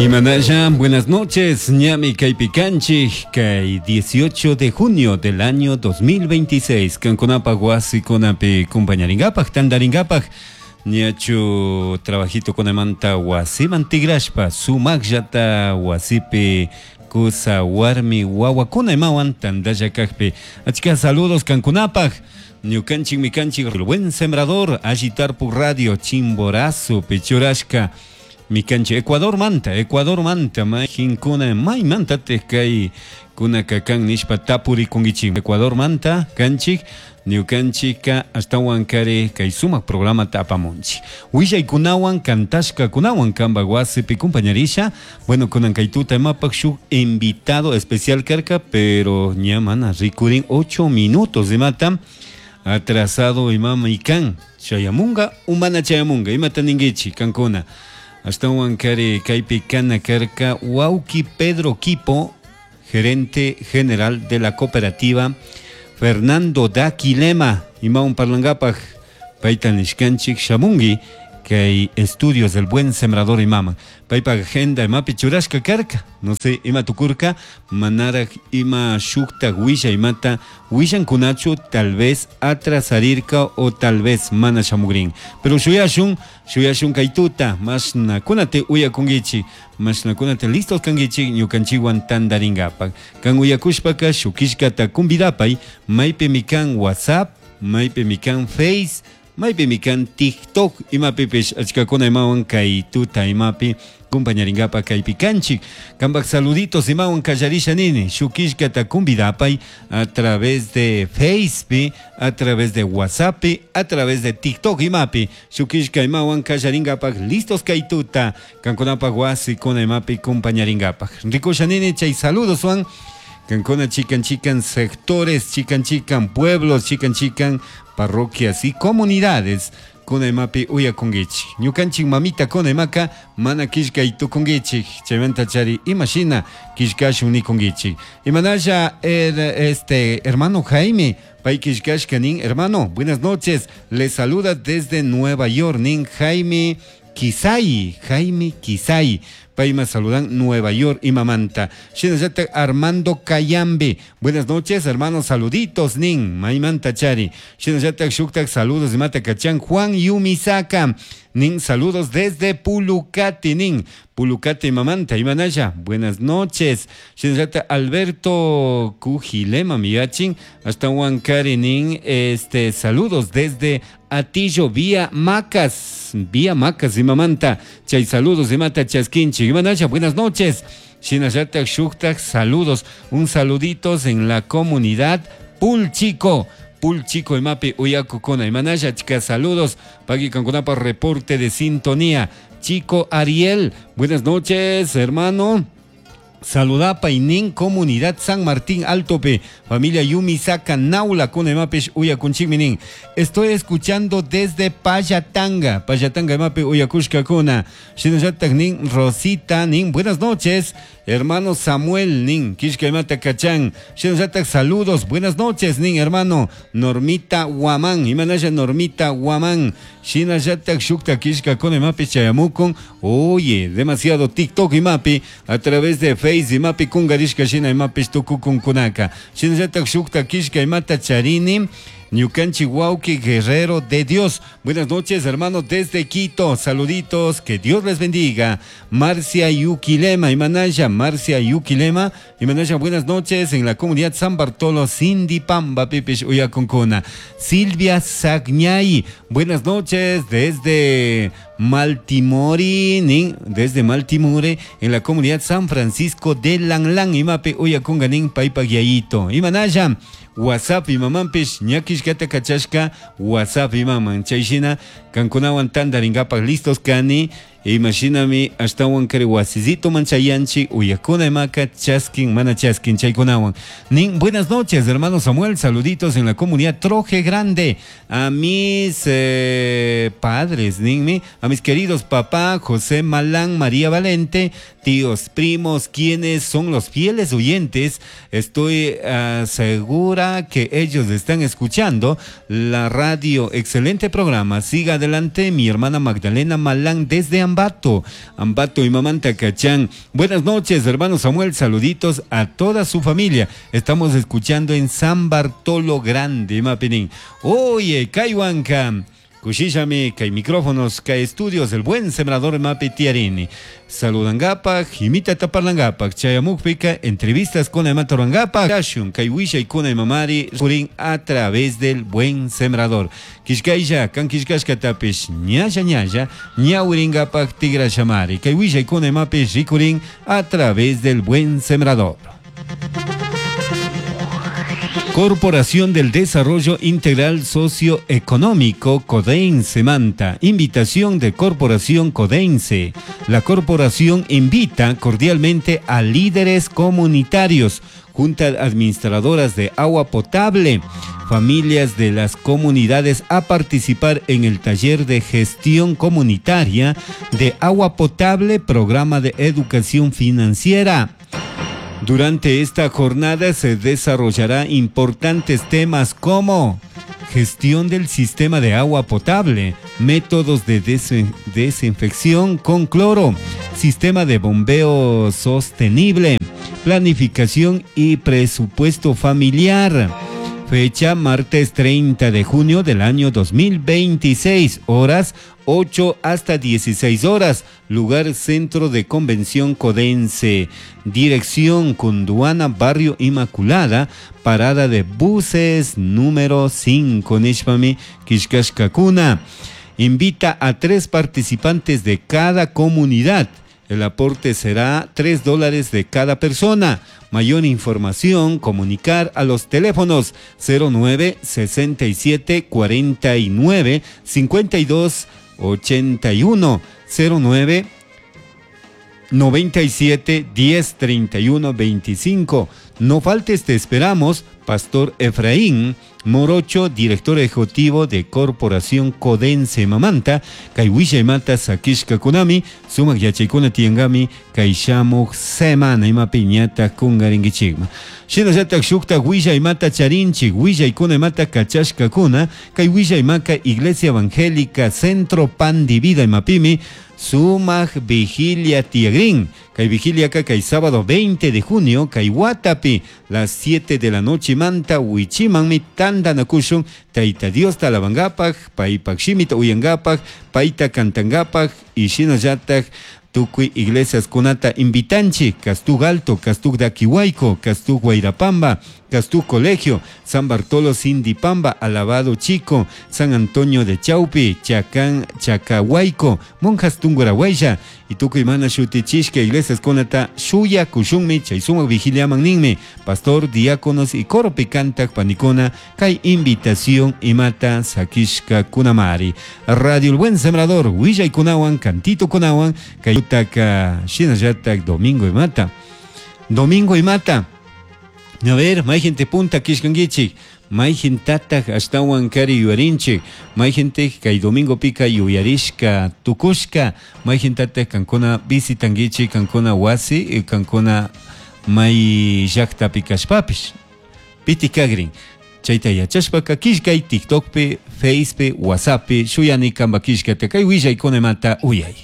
Imanalla, buenas noches, ñami kaypi kanchik, kay 18 de junio del año 2026, kankunapaj wasikunapi kumpañarinkapak, tantarinkapak, ñachu trabajito kunamanta wasiman tigrashpa, sumaqllata wasipi kusa warmi wawakuna imawan tantalla kakpi. Achka saludos kankunapaj, ñukanchikmi kanchik El Buen Sembrador, Alli Tarpuk Radio, Chimborazo, churashka, mikanchik Ecuador manta, Ecuador manta, mayjinkuna maymantatik kay kunaka kan nishpa tapurikunkichik. Ecuador manta kanchik, ñukanchikka ashtawan kari kay sumak programata apamunchik. Willaykunawan kantashkakunawan kanpak wasipi kumpañarisha. Bueno, kunan kay tuta imapak shuk invitado especial karka, pero ña mana rikurin 8 minutos imata atrasado imama ikan. Chayamunga o mana chayamunga, imata ninkichik kankuna. Ashtawan kari kaypi kana karka wawki Pedro Quipo, gerente general de la cooperativa Fernando Daquilema, imawan parlankapaj payta nishkanchik shamunki kay estudios del Buen Sembrador imama. Paypak agenda imapi churashka karka, no sé, ima tukurka, manaraj ima shuktak willa imata willankunachu, tal vez atrasarirka o tal vez mana shamugrin. Pero shuyashun, shuyashun kay tuta, mashna kunate uyakunkichik, mashna kunate listos kankichik ñukanchikwan tantarinkapak. Kan uyakushpaka shukishkata convidapay, maypimi kan WhatsApp, maypimi kan Face, maypimi kan TikTok, imapipish achkakuna imawan kay tuta imapi kumpañarinkapak kaypi kanchik. Kanpak saluditos imawan kallarisha nini, shukishkata convidapay a través de Facebook, a través de WhatsApp, a través de TikTok imapi, shukishka imawan kallarinkapak listos kay tuta, kankunapak wasikuna imapi kumpañarinkapak. Rikusha nini chay saludos wan, kankuna chikan chikan sectores, chikan chikan pueblos, chikan chikan parroquias y comunidades kuna imapi uyakunkichik. Ñukanchik mamita kuna imaka mana killkay tukunkichik, chaymanta chari imashina killkashun nikunkichik. Imanalla este hermano Jaime, pay killkashka nin, hermano, buenas noches, les saluda desde Nueva York, nin Jaime Kisai, Jaime Kisai, payma saludan Nueva York imamanta. Shinallata Armando Cayambe, buenas noches hermano, saluditos nin, maymanta chari. Shinallata shuktak saludos imata kachan Juan Yumisaka, nin saludos desde Pulucati nin, Pulucati imamanta, imanalla, buenas noches. Shinallata Alberto Cujilema miyachin, hasta Huancari nin, saludos desde Atillo, vía Macas, vía Macas imamanta, chay saludos imata chasquinchi, imanalla, buenas noches. Shinallata shuktak saludos, un saluditos en la comunidad Pulchico, Pulchico imapi uyakukuna, imanalla chica saludos, pagui kankunapa reporte de sintonía. Chico Ariel, buenas noches hermano. Saludapa y nin comunidad San Martín Altope, familia Yumisaka Naula con emapesh uyakunchikminin. Estoy escuchando desde Payatanga, Payatanga emape uyakushka kuna. Shinallatak nin Rosita nin, buenas noches, hermano Samuel nin, kishka imata kachan. Shinallatak saludos, buenas noches nin, hermano Normita Guamán, imanalla Normita Guamán. Shinallatak shukta kishka con emape chayamukun. Oye, demasiado TikTok imapi a través de Facebook imapi kungarishka shina imapi tukukun kunaka. Shinallatak shukta kishka imata charini. Ñukanchi wauki guerrero de Dios. Buenas noches, hermano, desde Quito. Saluditos, que Dios les bendiga. Marcia Yuquilema, Imanaya, Marcia Yuquilema. Imanaya, buenas noches en la comunidad San Bartolo, Cindy Pamba, Pipish, Uyacuncuna. Silvia Sagñay, buenas noches desde Maltimori, nin, desde Maltimore, en la comunidad San Francisco de Langlán, Imape, Uyacunganin, Paipa Guiayito. Imanaya, WhatsApp imamampish, ñakishkata kachashka, WhatsApp imaman. Chayshina, kankunawan tantarinkapak listos kani, imashinami ashtawan kari wasizito manchayanchi, uyakuna imaka, chaskin, mana chaskin, chaykunawan. Nin, buenas noches, hermano Samuel, saluditos en la comunidad Troje Grande. A mis padres, ninmi, a mis queridos papá, José Malán, María Valente, tíos, primos, quienes son los fieles oyentes. Estoy segura que ellos están escuchando la radio. Excelente programa. Siga Adelante, mi hermana Magdalena Malán desde Ambato. Ambato y Mamanta Cachán. Buenas noches, hermano Samuel. Saluditos a toda su familia. Estamos escuchando en San Bartolo Grande, Mapinin. Oye, Kaiwanka. Kushishami, kay micrófonos, kay estudios, el buen sembrador Mapi Tiarini. Saludangapak, jimita taparlangapak, chayamukpika, entrevistas con Ematorangapak, Kashun, kay wishay con mamari, purin a través del buen sembrador. Kishkaisha, kan kishkashka tapish, ñalla ñalla, ñawiringapak tigra shamari, kay wishay con mapi rikurin a través del buen sembrador. Corporación del Desarrollo Integral Socioeconómico Codense Manta. Invitación de Corporación Codense. La corporación invita cordialmente a líderes comunitarios, juntas administradoras de agua potable, familias de las comunidades a participar en el taller de gestión comunitaria de agua potable, programa de educación financiera. Durante esta jornada se desarrollará importantes temas como gestión del sistema de agua potable, métodos de desinfección con cloro, sistema de bombeo sostenible, planificación y presupuesto familiar. Fecha martes 30 de junio del año 2026, horas 8 hasta 16 horas, lugar Centro de Convención Codense, dirección Cunduana, Barrio Inmaculada, parada de buses número 5, Nishpami, Kishkashkakuna. Invita a 3 participantes de cada comunidad. El aporte será $3 de cada persona. Mayor información, comunicar a los teléfonos 09 67 49 52 81, 09 97 10 31 25. No faltes, te esperamos. Pastor Efraín Morocho, director ejecutivo de Corporación Codense Mamanta, Kaiwisha Mata Sakishka Kunami, Sumak Yachaykuna Tiangami, Kaishamuk Semana Ima Piñata Kungaringichigma. Shinallatak shukta Wisha Imata Charinchik, Wishaykuna Imata Kachashka Kuna, Kaiwisha Imaka Iglesia Evangélica Centro Pan de Vida Imapimi, Sumak Vigilia Tiagrin, Kay Vigilia kay sábado 20 de junio, kay Huatapi, las 7 de la noche manta, Huichimanmi, Tandanakushun, Taita Dios talabangapak, Paipak Shimita uyangapak, Paita cantangapak, y shinallatak, tukuy iglesias kunata invitanchi, Castug Alto, Castug Daquihuayco, Castug Guairapamba, Castug Colegio, San Bartolo Sindipamba, Alabado Chico, San Antonio de Chaupi, Chacán, Chacahuayco, Monjas Tungurahuaya, y tukuy mana shutichishka iglesias kunata shuya kushunmi, chaysuma vigilia manninmi, pastor, diáconos y coro picantak panicona, kay invitación imata sakishka kunamari. Radio El Buen Sembrador, Huillay kunawan, Cantito kunawan, kay utaka shinallatak domingo imata. Domingo imata. A ver, may gente punta kishkangichik, may gentataq ashtawan kari yuyarinchik, may gente kay domingo pika yuyarishka tukushka, may gentataq kankuna visitangichik, kankuna wasi, kankuna may llaqtapi kashpapish. Piti kagrin. Chayta yachashpaka kishkay TikTokpi, Facepi, WhatsAppi, shuyani kamba kishkata kay willaykuna imata uyay.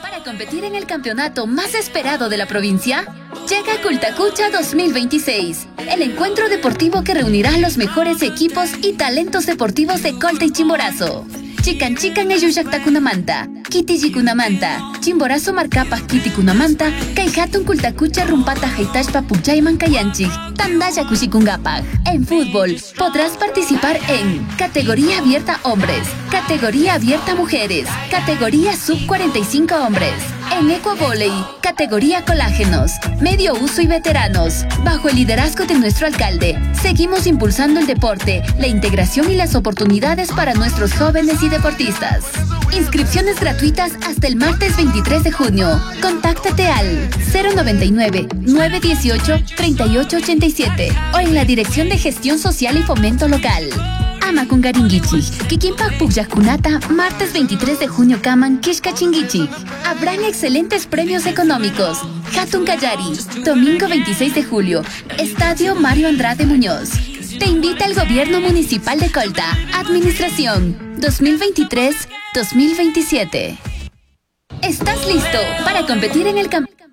Para competir en el campeonato más esperado de la provincia, llega Cultacucha 2026, el encuentro deportivo que reunirá a los mejores equipos y talentos deportivos de Colta y Chimborazo. Chican Chican Eyushaktakunamanta, Kitijikunamanta, Chimborazo Marcapas Kitikunamanta, Kaihatun Kultakucha Rumpata Haitashpa Pukchayman Kayanchik, Tandaya Kushikungapak. En fútbol, podrás participar en categoría abierta hombres, categoría abierta mujeres, categoría sub 45 hombres. En ecuavoley, categoría colágenos, medio uso y veteranos. Bajo el liderazgo de nuestro alcalde, seguimos impulsando el deporte, la integración y las oportunidades para nuestros jóvenes y deportistas. Inscripciones gratuitas hasta el martes 23 de junio. Contáctate al 099 918 3887 o en la Dirección de Gestión Social y Fomento Local. Ama Kungaringuichi, Kikimpak Pukyakunata, martes 23 de junio Kaman Kishkachinguichi. Habrán excelentes premios económicos. Hatun Kallari, domingo 26 de julio, Estadio Mario Andrade Muñoz. Te invita el Gobierno Municipal de Colta. Administración 2023-2030. 2027. ¿Estás listo para competir en el campeonato?